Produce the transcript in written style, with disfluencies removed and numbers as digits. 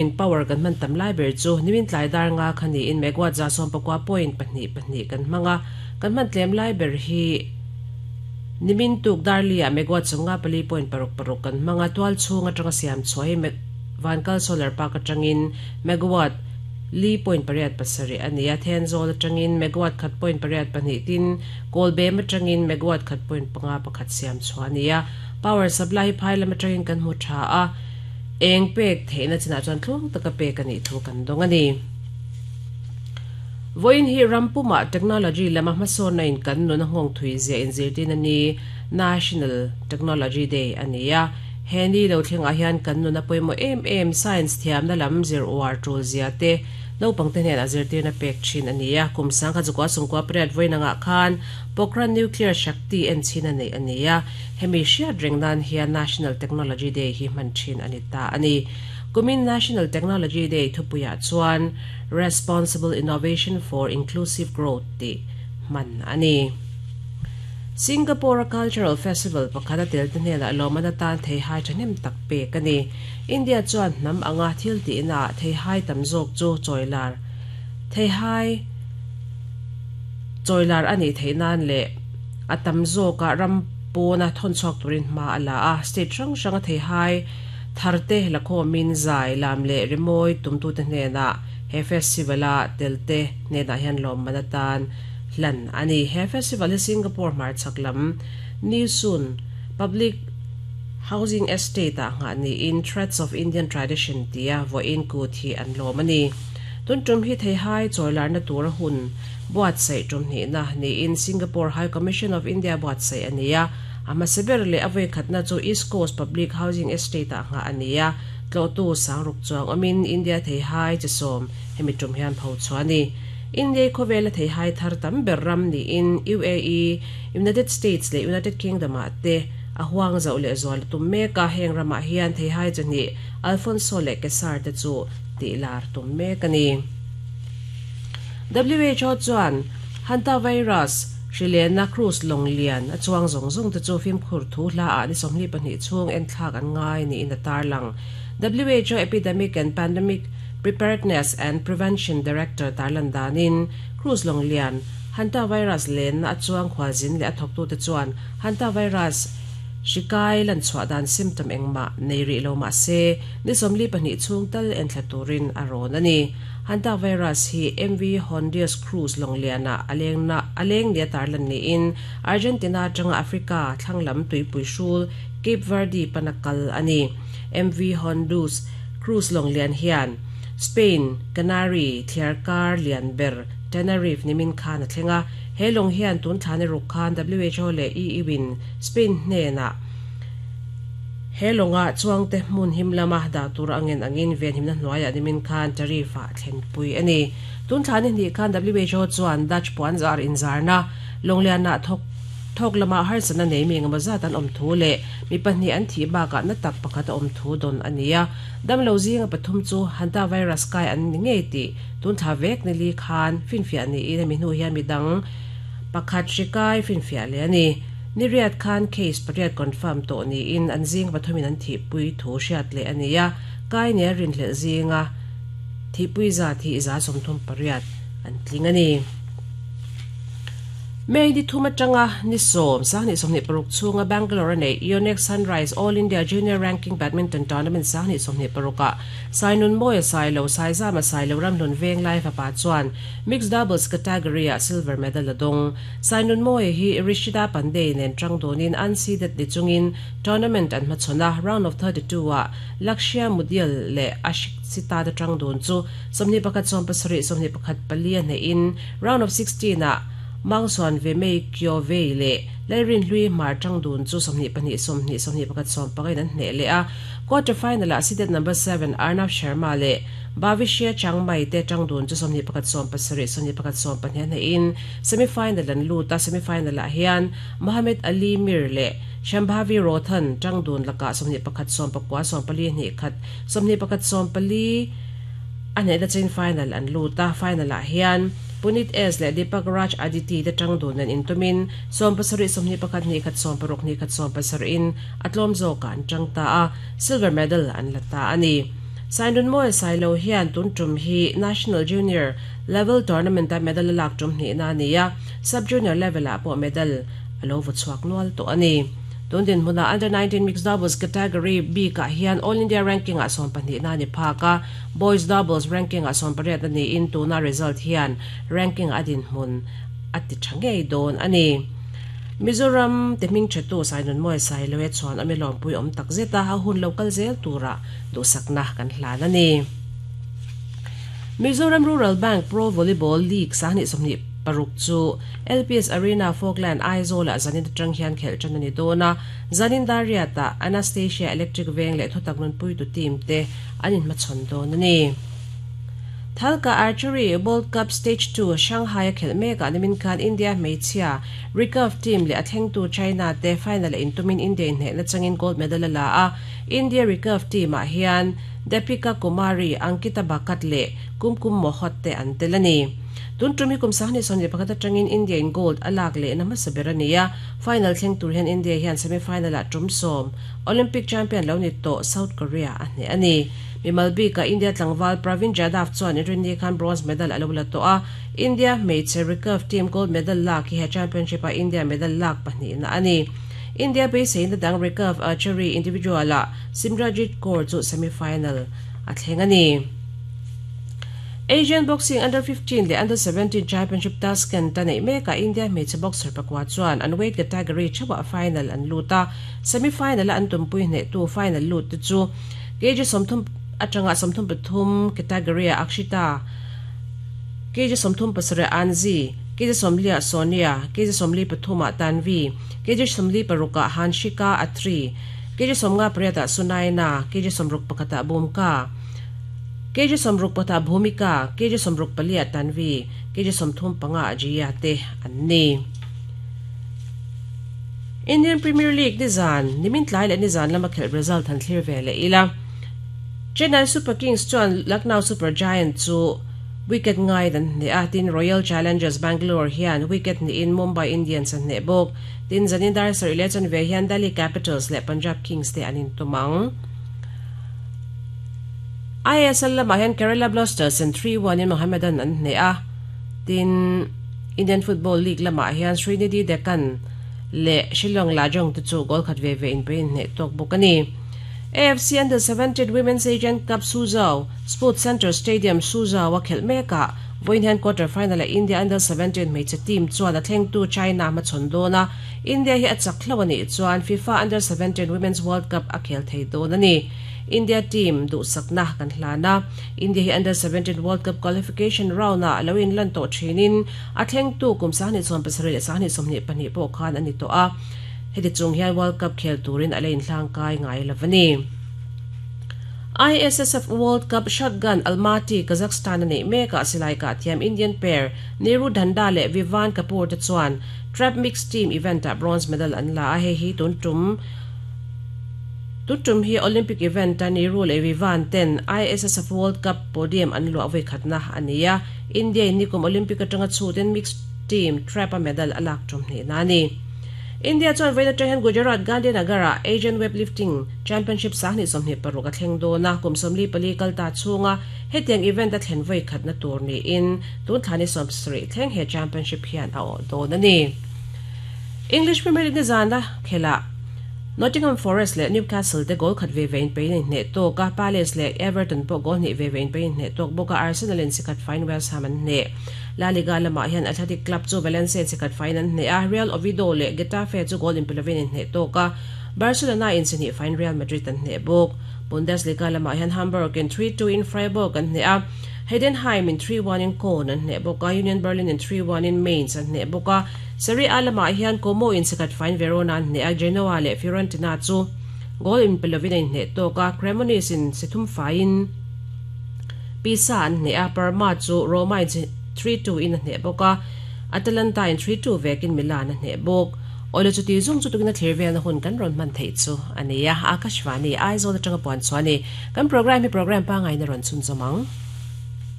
In power kan hman tam lai ber chu nimin tlai dar nga kha niin megawatt 14.2 2 kan hmang a, kan hman tlem lai ber hi nimin tuk dar li ah megawatt 54.6 6 kan hmang a, tual chhung atanga siam chhuah hi Vankal Solar Park atangin megawatt 4.87 a ni a, Thenzawl atangin megawatt 1.82 tin Kawlbem atangin megawatt 1.51 siam chhuah a ni a, power supply hi phai lam atangin kan hmu tha a. Eng pek theihna chinah chuan tluang taka pek a nih thu kan dawng a ni. Vawiin hi ram pumah technology lama hmasawnna in kan nun a nghawng thui zia inzirtin a ni, National Technology Day a ni a. He ni lo thlengah hian kan nun a pawimawh em em science thiamna lam zir uar tul zia te naupangte hnenah zirtirna pek thin a ni a. Kum sangkhat zukua sungkua pariat vawiin angah khan Pokhran Nuclear Shakti enchhin a neih a ni a. Hemi hriat reng nan hian National Technology Day hi hman thin a ni ta a ni. Kumin National Technology Day thupuiah chuan Responsible Innovation for Inclusive Growth tih hman a ni. Singapore-a Cultural Festival pakhat a telte hnenah lawmman atan theihai thahnem tak pek a ni. India chuan hnam anga thil tihnaah theihai tam zawk chu chawilar theihai chawilar a nih theih nan leh a tam zawkah ram pawna thawn chhuak turin hma a la a, state hrang hranga theihai tharte lakhawmin zai, lam leh rimawi tumtute hnenah he festival-a telte hnenah hian lawmman atan hlan a ni. He festival hi Singapore hmarchhak lam Nee Soon Public Housing Estate-ah nghah niin Threads of Indian Tradition tia vawiin kut hi an lawm a ni. Tun tum hi theihai chawilarna tura hun buatsaih tum hnihna niin Singapore High Commission of India buatsaih a ni a, a hmasa ber leh a vawikhatna chu East Coast Public Housing Estate-ah nghah a ni a, tlawhtu sangruk chuang awmin India theihai chi sawm hemi tum hian pho chhuah a ni. India khawvela theihai thar tam ber ram niin UAE, United States leh United Kingdom-ah te a huang zauh leh zual a tum mek a, heng ramah hian theihai chi hnih Alphonso leh Kesar te chu tihlar tum mek a ni. WHO chuan Hantavirus hrilehna cruise lawng lian a chuang zawng zawng te chu fimkhur thu hla ah ni 22 chhung enthlak an ngai niin a tarlang. WHO Epidemic and Pandemic Preparedness and Prevention Director tarlan danin cruise lawng lian Hantavirus lenna a chuang khualzin leh a thawktute chuan Hantavirus hri kai lan chhuah dan symptom engmah nei rih lo mah se ni 42 chhung tal enthla turin a rawn a ni. Hantavirus hi MV Hondius Cruise lawnglianah a lengna a leng nia tarlan niin Argentina atanga Africa thlanglam tuipui hrul Cape Verde pana kal a ni. MV Hondius Cruise lawnglian hian Spain Canary thliarkar lian ber Tenerife nimin khan a thleng a. He lawng hian tun thla ni ruk khan WHO leh EU-in Spain hnenah He lawnga chuangte hmun him lama dah tur a ngen angin venhimna hnuaiah nimin khan tariff-ah thlenpui a ni. Tun thla ni hnih khan WHO chuan Dutch puanzar inzarna lawnglianah thawk thawk lama harsatna nei mi engemaw zat an awm thu leh mi pahnih an thih bakah na tak pakhat a awm thu dawn a ni a. Damlo zinga pathum chu hantavirus kai an ni ngei tih tun thla vek nili khan finfiah niin hemi hnu hian midang pakhat hri kai finfiah leh a ni. Ni riat khan case pariat confirm tawh niin an zing pathumin an thihpui thu hriat leh a ni a, kai nia rinhlelh zinga thihpui zat hi 38 an tling a ni. May ni thum atanga ni sawm, 2026 chhunga Bangalore a neih Yonex Sunrise All India Junior Ranking Badminton Tournament 2026 ah Sainunmawia Sailo, Saizama Sailo Ramhlun Venglai fapa chuan Mixed Doubles category ah silver medal a dawng. Sainunmawia hi Rishida Pandey nen tang dawnin unseeded ni chungin tournament an hmachhawn a, round of 32 ah Lakshya Mudial leh Ashik Sita te tang dun chu 21 7, 21 4 a hnehin round of 16 ah Mangsuan Vemei Kyovei leh Lalrinhlui Hmar tang dun chu 22 20, 21 15 in an hneh leh a. Quarter final ah seeded number 7 Arnav Sharma leh Bhavishya Changmai te tang dun chu 21 7, 21 10 a hnehin Semi final an lut a, semi final ah hian Mohamed Ali Mir leh Shambhavi Rothan tang dun lakah 21 19 14 1 21 14 a hnehna chain final an lut a, final ah hian Punit S leh Deepak Raj Aditi te tang dun an intumin 70 21 1 16 1 17 in a tlawm zawkah an tang ta a, silver medal an la ta a ni. Sainunmawia Sailo hian tun tum hi National Junior Level Tournament-a medal a lak tum hnihna a ni a, Sub-Junior level-ah pawh medal a lo vaw chhuak nual tawh a ni. Tun dinhmunah Under 19 Mixed Doubles category bikah hian All India Ranking-ah sawmpahnihna a ni phak a, Boys Doubles Ranking-ah sawmpariat a niin tuna result hian ranking-ah a dinhmun a ti tha ngei dawn a ni. Mizoram te hmingthatu Sainunmawia Sailoe chuan ami lawmpui awm tak zet a, a hun lo kal zel turah duhsakna kan hlan a ni. Mizoram Rural Bank Pro Volleyball League 2026 chu LPS Arena Falkland Aizawl-ah zanin atang hian khelh tan a ni dawn a, zanin dar riatah Anastasia Electric Veng leh Thutak Nunpuitu team te an inhmachhawn dawn a ni. Thalka Archery World Cup Stage Two Shanghai-a khelh mekah nimin khan India hmeichhia recurve team leh a thlengtu China te final-a intumin India inhnehna changin gold medal a la a, India recurve team-ah hian Deepika Kumari, Ankita Bhakat leh Kumkum Mohot te an tel a ni. Tun tum hi kum 2021 atangin India-in gold a lak lehna hmasa ber a ni a, final thleng tur hian India hian semi-final-ah tum sawm Olympic champion lo ni tawh South Korea a hneh a ni. Mimal bikah India tlangval Pravin Jadhav chuan Inrinni khan bronze medal a lo la tawh a, India hmeichhe recurve team gold medal lak hi he championship-ah India medal lak pahnihna a ni. India beiseina dang recurve archery individual-ah Simranjit Kaur chu semi-final a thleng a ni. Asian Boxing Under 15 leh Under 17 Championship Tashkent a neih mekah India hmeichhe boxer pakua chuan an weight category theuhah final an lut a, semi-final a an tumpui hnehtu final lut te chu kg 30 atanga 33 category-ah Akshita, kg 37 Anzi, kg 40-ah Sonia, kg 43-ah Tanvi, kg 46-ah Hanshika Atri, Kg 58 ah Sunaina, kg 61 ah Bhumka, kg 64 ah Bhumika, kg 64 ah Tanvi, kg 35 ah Jiya te an ni. Indian Premier League nizan, nimin tlai leh nizan lama khelh result han thlir ve leh ila. Chennai Super Kings chuan Lucknow Super Giant chu wicket ngaiin an hneh a, tin Royal Challengers Bangalore hian wicket hnihin Mumbai Indians an hneh bawk. Tin, zanin dar sarih leh chanve hian Delhi Capitals leh Punjab Kings te an intum ang. ISL lamah hian Kerala Blasters in 3-1 in Mohammedan an hneh a, tin, Indian Football League lamah hian Srinidhi Deccan leh Shillong Lajong te chu goal khat ve ve inpe in hneh tawk bawk a ni. AFC Under 17 Women's Asian Cup Suzhou Sports Centre Stadium, Suzhou a khelh mekah Vawiin hian quarter final-ah India Under 17 hmeichhe team chuan a thlengtu China hmachhawn dawn a, India hi a chak hlauh a nih chuan FIFA Under 17 Women's World Cup a khel thei dawn a ni. India team duhsakna kan hlan a, India hi Under 17 World Cup qualification round-ah a lo inlan tawh thinin a thlengtu kum 2017 leh 2022 pawh khan a ni tawh a, heti chung hian World Cup khel turin a la inhlangkai ngai lo a ni. ISSF World Cup Shotgun Almaty, Kazakhstan a neih mekah silai kah thiam Indian pair Neeru Dhanda leh Vivaan Kapoor te chuan Trap Mixed Team event-ah bronze medal an la a, hei hi tun tum tun tum hi Olympic event-a Neeru leh Vivaan ten ISSF World Cup podium an luah vawikhatna a ni a, India-in nikum Olympic atanga chhutin Mixed Team Trap-a medal a lak tum hnihna a ni. India chuan vawiin atang hian Gujarat Gandhinagar-ah Asian Weightlifting Championship 2026 a thleng dawn a, kum 44 kal ta chhunga hetiang event a thlen vawi khatna tur niin tun thla ni 70 thleng he championship hian a awh dawn a ni. English Premier League nizana khelah Nottingham Forest leh Newcastle te goal khat ve ve inpeiin an inhneh tawk a, Palace leh Everton pawh goal hnih ve ve inpeiin inhneh tawk bawk a, Arsenal in sikhat faiin West Ham an hneh. La Liga lamah hian Athletic Club chu Valencia chikhat faiin an hneh a, Real Oviedo leh Getafe chu goal inpe lovin an hneh tawk a, Barcelona in chi hnih faiin Real Madrid an hneh bawk. Bundesliga lamah hian Hamburg in 3-2 in Freiburg an hneh a, Heidenheim in 3-1 in Köln an hneh bawk a, Union Berlin in 3-1 in Mainz an hneh bawk a. Serie A lamah hian Como in chikhat faiin Verona an hneh a, Genoa leh Fiorentina chu goal inpe lovin a inhneh tawk a, Cremonese in si thum faiin Pisa an hneh a, Parma chu Roma in 3-2 in a hneh bawk a, Atalanta in 3-2 vekin Milan a hneh bawk. Awle chuti zung chu tukin a thlir velna hun kan rawn hman theih chu a ni a, Akashvani, Aizawl atanga puan chhuah a ni. Kan programme hi programme pangngai in a rawn chhunzawm ang.